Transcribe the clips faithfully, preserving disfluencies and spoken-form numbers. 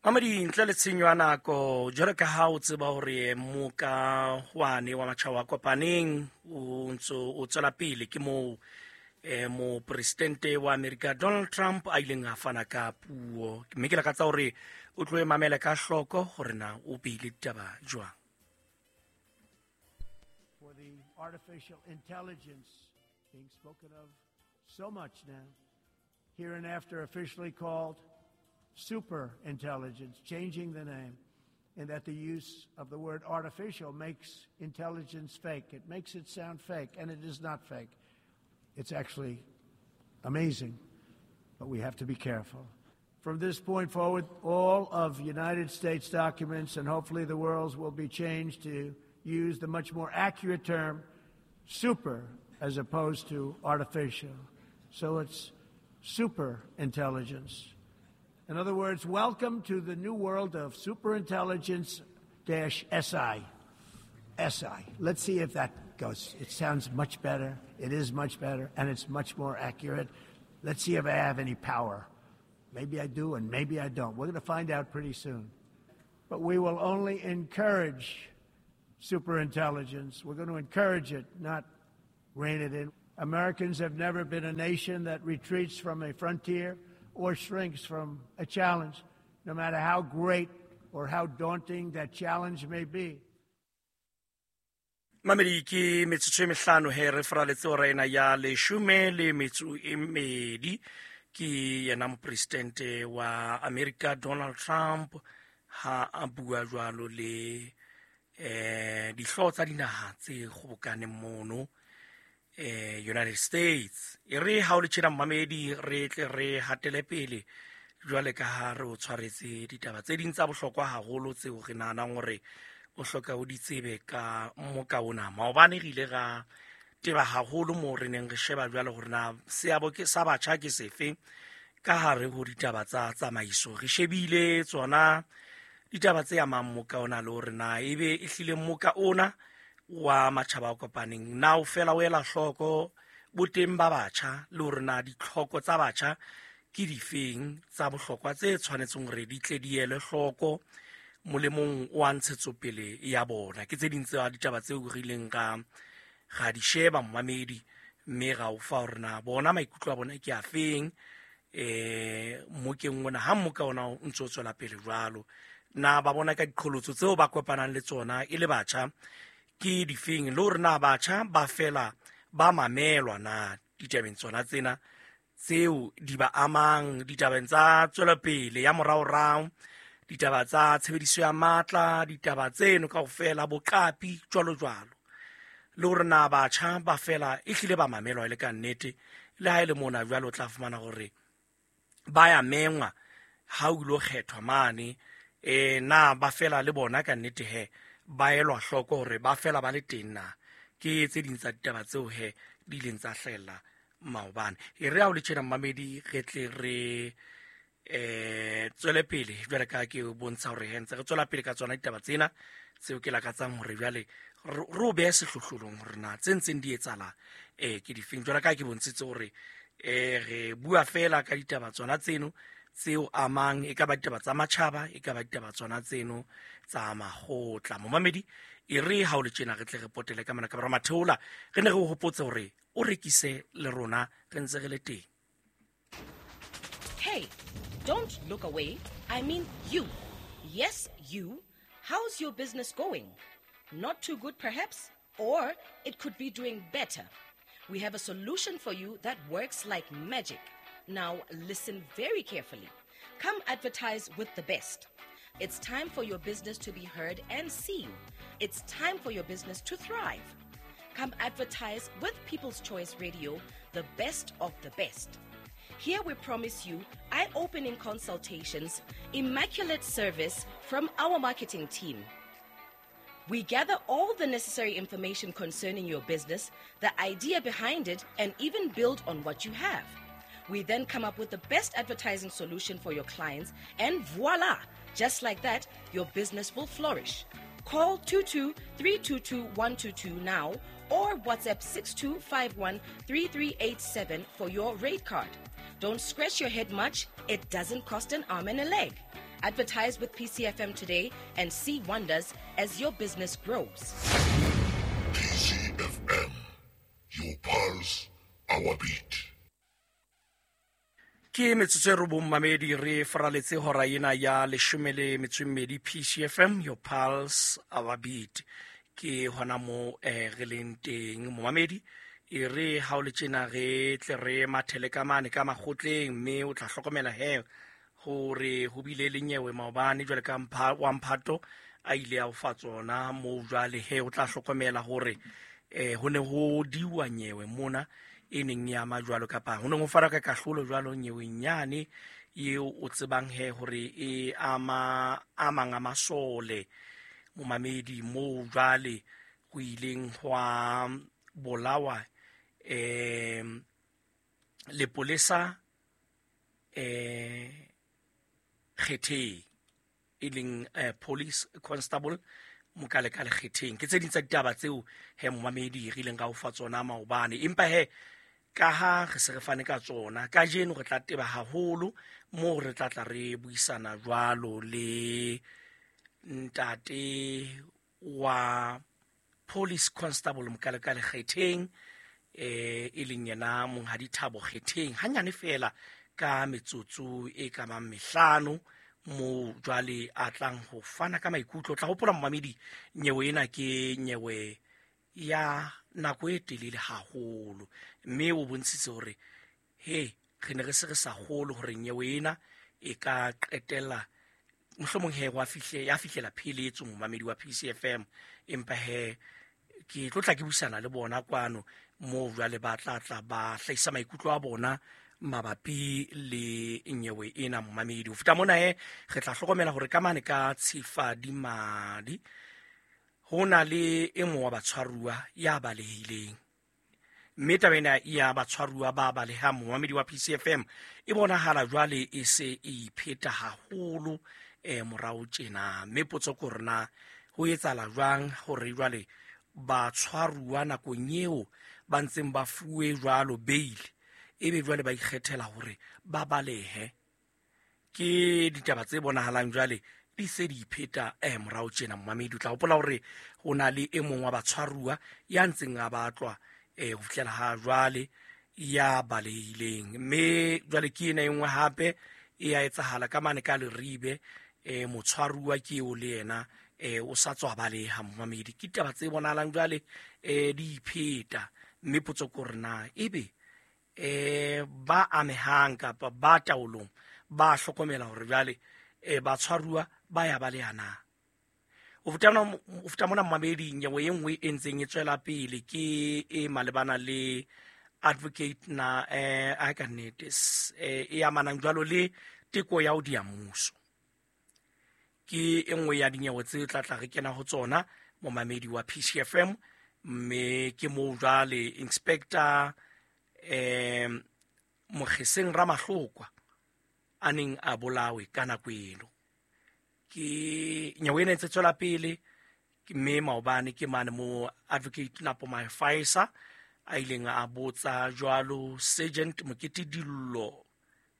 Mamedi, ntle le tshenyo ya nako, jwalo ka ha o tseba hore moka wane wa matjhaba a kopaneng o ntso o tswela pele, ke moo eh mopresidente wa America Donald Trump a ileng a fana ka puo, mme ke lakatsa hore o tlo e mamele ka hloko hore na o beile ditaba jwang. For the artificial intelligence being spoken of so much now, hereinafter officially called super intelligence, changing the name, and that the use of the word artificial makes intelligence fake. It makes it sound fake, and it is not fake. It's actually amazing, but we have to be careful. From this point forward, all of United States documents and hopefully the world's will be changed to use the much more accurate term super as opposed to artificial. So it's super intelligence. In other words, welcome to the new world of superintelligence dash S I. S I. Let's see if that goes. It sounds much better. It is much better, and it's much more accurate. Let's see if I have any power. Maybe I do, and maybe I don't. We're gonna find out pretty soon. But we will only encourage superintelligence. We're gonna encourage it, not rein it in. Americans have never been a nation that retreats from a frontier or shrinks from a challenge, no matter how great or how daunting that challenge may be. Mamedi, ke metsotso e mehlano he re faraletse hora ena ya leshome le metso e mmedi. Ke yena mopresidente wa America Donald Trump ha a bua jwalo le eh dihlooho tsa dinaha tse kgobokaneng mono eh United States. E re ha o le tjena mmamedi, re tle re hatele pele jwale ka ha re o tshwaretse ditaba tse ding tsa bohlokwa haholo tseo re nahanang hore o hloka o di tsebe ka moka ona. Maobane re ile ra teba haholo moo re neng re sheba jwale hore na seabo ke sa batjha ke sefe ka hare ho ditaba tsa tsamaiso. Re shebile tsona ditaba tse amang moka ona le hore na ebe e hlile moka ona wa matjhaba a kopaneng na o fela o ela hloko boteng ba batjha le hore na ditlhoko tsa batjha ke difeng tsa bohlokwa tse tshwanetseng hore di tle di elwe hloko molemong wa ntshetsopele ya bona. Ke tse ding tsa ditaba tseo re ileng ra, ra di sheba mmamedi, mme ra o fa hore na bona maikutlo a bona ke a feng eh mokeng ona ha moka ona o ntso tswela pele jwalo, na ba bona ka diqholotso tseo ba kopanang le tsona e le batjha ke difeng, le hore na batjha ba fela ba mamelwa na ditabeng tsona tsena tseo di ba amang, ditabeng tsa tswelopele ya moraorao, ditaba tsa tshebediso ya matla, ditaba tseno kaofela, boqapi jwalo jwalo, le hore na batjha ba fela e hlile ba mamelwa e le ka nnete. Le ha e le mona jwalo o tla fumana hore ba ya mengwa ha o ilo kgethwa mane, eh na ba fela le bona ka nnete he ba elwa hloko hore ba fela ba le teng na. Ke tse ding tsa ditaba tseo he di ileng tsa hlahella maobane. E re ha o le tjena mmamedi, re tle re eh tswele pele jwale ka ke bontsha hore he ntse re tswela pele ka tsona ditaba tsena tseo ke lakatsang hore jwale re o behe sehlohlolong hore na tse ntseng di etsahala eh ke difeng. Jwale ka ke bontshitse hore eh re bua fela ka ditaba tsona tseno tseo amang, e ka ba ditaba tsa matjhaba, e ka ba ditaba tsona tseno tsa makgotla. Momamedi, e re ha o le tjena re tle re potele ka mona ka bora matheola, re ne re o hopotse hore o rekise le rona re ntse re le teng. Hey, don't look away. I mean you. Yes, you. How's your business going? Not too good perhaps, or it could be doing better. We have a solution for you that works like magic. Now listen very carefully. Come advertise with the best. It's time for your business to be heard and seen. It's time for your business to thrive. Come advertise with People's Choice Radio, the best of the best. Here we promise you eye-opening consultations, immaculate service from our marketing team. We gather all the necessary information concerning your business, the idea behind it, and even build on what you have. We then come up with the best advertising solution for your clients, and voila! Just like that, your business will flourish. Call two two three two two one two two now or WhatsApp six two five one three three eight seven for your rate card. Don't scratch your head much. It doesn't cost an arm and a leg. Advertise with P C F M today and see wonders as your business grows. P C F M, your pulse, our beat. Ke metsotso e robong mamedi re faraletse hora ena ya leshome le metso e mmedi. P C F M, your pulse, our beat. Ke hona mo eh, re leng teng momamedi. E re ha o le tjena re tle re mathele ka mane ka makgotleng, mme o tla hlokomela he hore ho bile le nyewe maobane jwale ka mpha wa mphato a ile a o fa tsona mo jwale he o tla hlokomela hore eh ho ne ho diwa nyewe mona e neng ya ma jwalo kapa ho ne ho fara ka kahlolo jwalo nyeweng nyane eo o tsebang he hore e ama amang a masole momamedi mo jwale ho ileng hwa bolawa eh lepolesa eh Kgetheng e leng eh, police constable Mokalekale Kgetheng. Ke tse ding tsa ditaba tseo he momamedi re ileng ka o fa tsona maobane, empa he ka ha re se re fane ka tsona kajeno re tla teba haholo moo re tla tla re buisana jwalo le ntate wa police constable Mokalekale Kgetheng eh e leng yena Monghadi Thabo Kgetheng hanyane fela ka metsotso e ka mang mehlano mo jwale a tlang ho fana ka maikutlo. Tla hopola momamedi nyewe ena ke nyewe ya nako e telele haholo, mme o bontshitse hore he re ne re se re sa kgolo hore nyewe ena e ka qetella mohlomong he wa fihle ya fihlela pheletso momamedi wa P C F M. Empa he ke tlo tla ke buisana le bona kwano mo jwale ba tla tla ba hlahisa maikutlo a bona mabapi le nyewe ena momamedi. Ho feta mona he re tla hlokomela hore ka mane ka tshifa di madi ho na le e mong wa batshwaruwa ya balehileng, mme taba ena ya batshwaruwa ba balehang momamedi wa P C F M e bonahala jwale e se e ipheta haholo eh morao tjena. Mme potso ke hore na ho etsahala jwang hore jwale batshwaruwa nakong eo ba ntseng ba fuwe jwalo bail ebe jwale ba ikgethela hore ba balehe. Ke ditaba tse bonahalang jwale di se di ipheta eh morao tjena momamedi. O tla hopola hore ho na le e mong wa batshwaruwa ya ntseng a batlwa eh ho fihlela ha jwale ya balehileng, mme jwale ke ena e nngwe hape e ya etsahala ka mane ka Leribe eh motshwaruwa ke eo le yena eh o sa tswa baleha momamedi. Ke ditaba tse bonahalang jwale eh di ipheta, mme potso ke hore na ebe eh ba amehang kapa ba taolong ba hlokomela hore jwale eh batshwaruwa ba ya baleha na. O feta mona momamedi nyewe e nngwe e ntseng e tswela pele ke e malebana le advocate na eh a ka nnete e amanang jwalo le teko ya ho dia mmuso. Ke e nngwe ya dinyewe tse tla tla re kena ho tsona momamedi wa P C F M, mme ke moo jwale inspector eh Mokgeseng Ramahlokwa a neng a bolawe ka nako eno. Ke nyewe ena e ntse tswela pele, mme maobane ke mane mo advocate Napo Mafaisa a ileng a botsa jwalo sergeant Mokete Dillo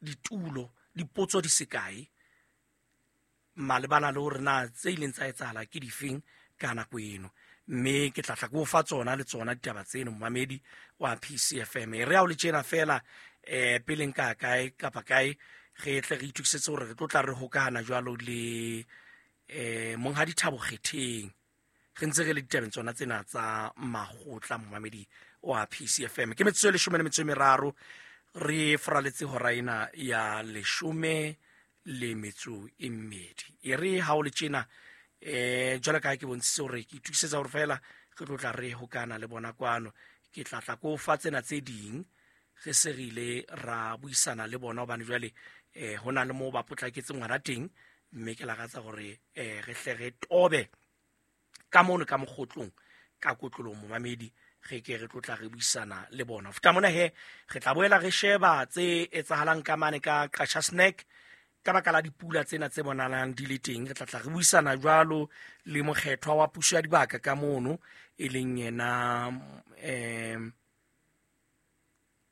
ditulo dipotso di sekae malebana le hore na tse ileng tsa etsahala ke difeng ka nako eno, mme ke tla tla ke o fa tsona le tsona ditaba tseno momamedi wa P C F M. E re ha o le tjena fela eh peleng ka kae kapa kae re tle re itokisetse hore re tlo tla re hokahana jwalo le eh Monghadi Thabo Kgetheng re ntse re le ditabeng tsona tsena tsa makgotla momamedi wa P C F M. Ke metsotso e leshome le metso e meraro re faraletse hora ena ya leshome le metso e mmedi. E re ha o le tjena eh jwalo ka ha ke bontshitse hore ke itokisetsa hore fela re tlo tla re hokana le bona kwano, ke tla tla ko fa tsena tse ding re se re ile ra buisana le bona hobane jwale eh ho na le moo ba potlaketseng ngwana teng, mme ke lakatsa hore eh re hle re tobe ka mono ka mokgotlong ka kotlolong momamedi re ke re tlotla re buisana le bona. Ho feta mona he re tla boela re sheba tse etsahalang ka mane ka Qacha's Nek ka baka la dipula tsena tse bonahalang di le teng. Re tla tla re buisana jwalo le mokgethwa wa puso ya dibaka ka mono e leng yena eh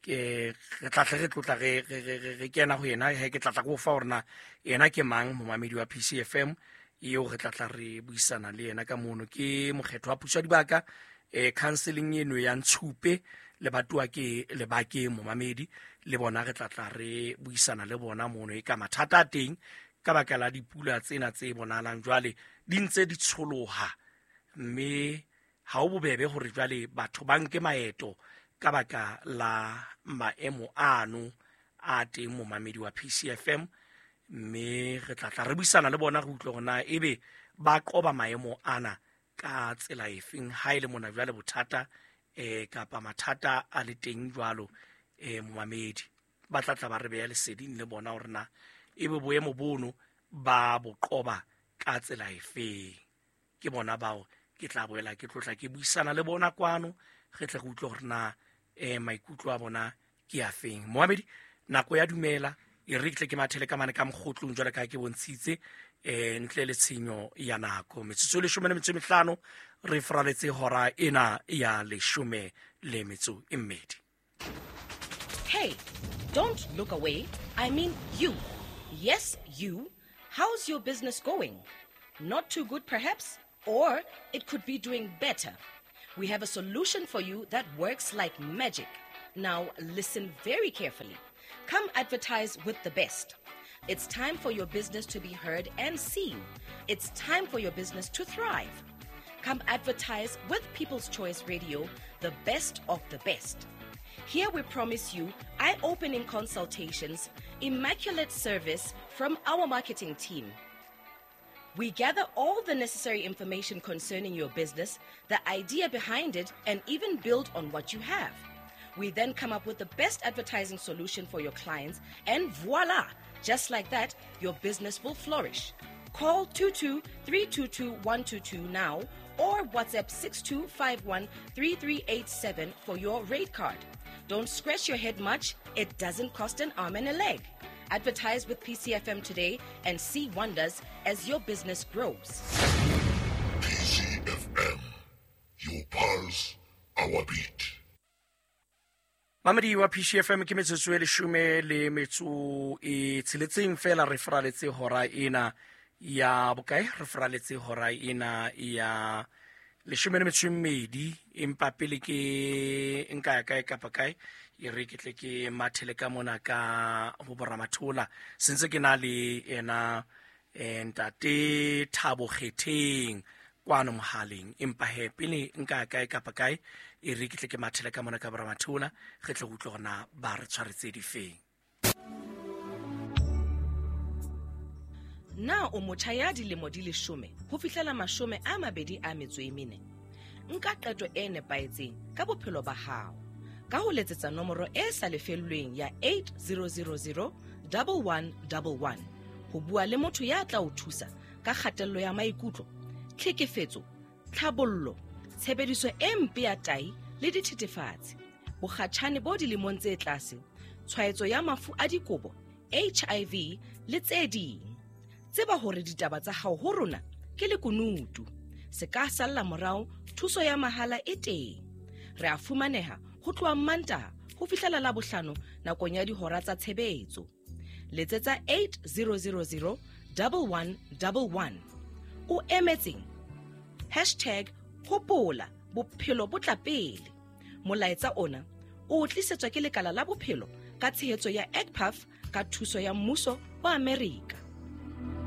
Ke re tla tle re tlotla re re re kena ho yena he ke tla tla go fa hore na yena ke mang momamedi wa P C F M eo re tla tla re buisana le yena ka mono. Ke mokgetho wa puso ya dibaka eh counseling eno ya Ntshupe le batuwa ke lebake momamedi le bona re tla tla re buisana le bona mono e ka mathata a teng ka baka la dipula tsena tse bonalang jwale di ntse di tsholoha, mme ha o bobebe hore jwale batho ba nke maeto ka baka la maemo ano a teng momamedi wa P C F M. Mme re tla tla re buisana le bona re utlwe hore na ebe ba qoba maemo ana ka tsela efeng ha ile mona jwale bothata eh kapa mathata a le teng jwalo eh momamedi ba tla tla ba re beya leseding le bona hore na ebe boemo bono ba bo qoba ka tsela efeng. Ke bona bao ke tla boela ke tlotla ke buisana le bona kwano re tle re utlwe hore na eh maikutlo a bona ke a feng. Momamedi nako ya dumela e re tle ke mathele ka mane ka mokgotlong jwale ka ke bontshitse eh ntle le tshenyo ya nako. Metsotso e leshome le metso e mehlano re fraletse hora ena ya leshome le metso e mmedi. Hey, don't look away. I mean you. Yes, you. How's your business going? Not too good perhaps, or it could be doing better. We have a solution for you that works like magic. Now listen very carefully. Come advertise with the best. It's time for your business to be heard and seen. It's time for your business to thrive. Come advertise with People's Choice Radio, the best of the best. Here we promise you eye-opening consultations, immaculate service from our marketing team. We gather all the necessary information concerning your business, the idea behind it, and even build on what you have. We then come up with the best advertising solution for your clients, and voila! Just like that, your business will flourish. Call two two three two two one two two now or WhatsApp six two five one three three eight seven for your rate card. Don't scratch your head much. It doesn't cost an arm and a leg. Advertise with P C F M today and see wonders as your business grows. P C F M, your pulse, our beat. Mamedi wa P C F M ke metsotso e leshome le metso e tsheletseng fela re fraletse hora ena ya bokae, re fraletse hora ena ya leshome le metso e mmedi. Empa pele ke nka ya kae kapa kae e re ke tle ke mathele ka mona ka ho boramathola sentse ke na le ena ntate Thabo Kgetheng kwano mohaleng. Empa he pele nka ya kae kapa kae e re ke tle ke mathele ka mona ka boramathola re tle go utlwe hore na ba re tshwaretse difeng. Na o motjha ya dilemo di leshome ho fihlela mashome a mabedi a metso e mene? Nka qeto e nepahetseng ka bophelo ba hao ka ho letsetsa nomoro e sa lefellweng ya eight zero zero zero one one one one ho bua le motho ya tla o thusa ka kgatello ya maikutlo, tlhekefetso, tlhabollo, tshebediso e mpe ya tai le dithethefatsi, bokgatjhane bo dilemong tse tlase, tshwaetso ya mafu a dikobo, H I V le tse ding. Tseba hore ditaba tsa hao ho rona ke lekunutu. Se ka salla morao, thuso ya mahala e teng. Re a fumaneha ho tloha Mantaha ho fihlela Labohlano nakong ya dihora tsa tshebetso. Letsetsa eight zero zero zero one one one one. O emetseng? Hashtag hopola bophelo bo tla pele. Molaetsa ona o tlisetswa ke lekala la bophelo ka tshehetso ya E C P A F ka thuso ya mmuso wa Amerika.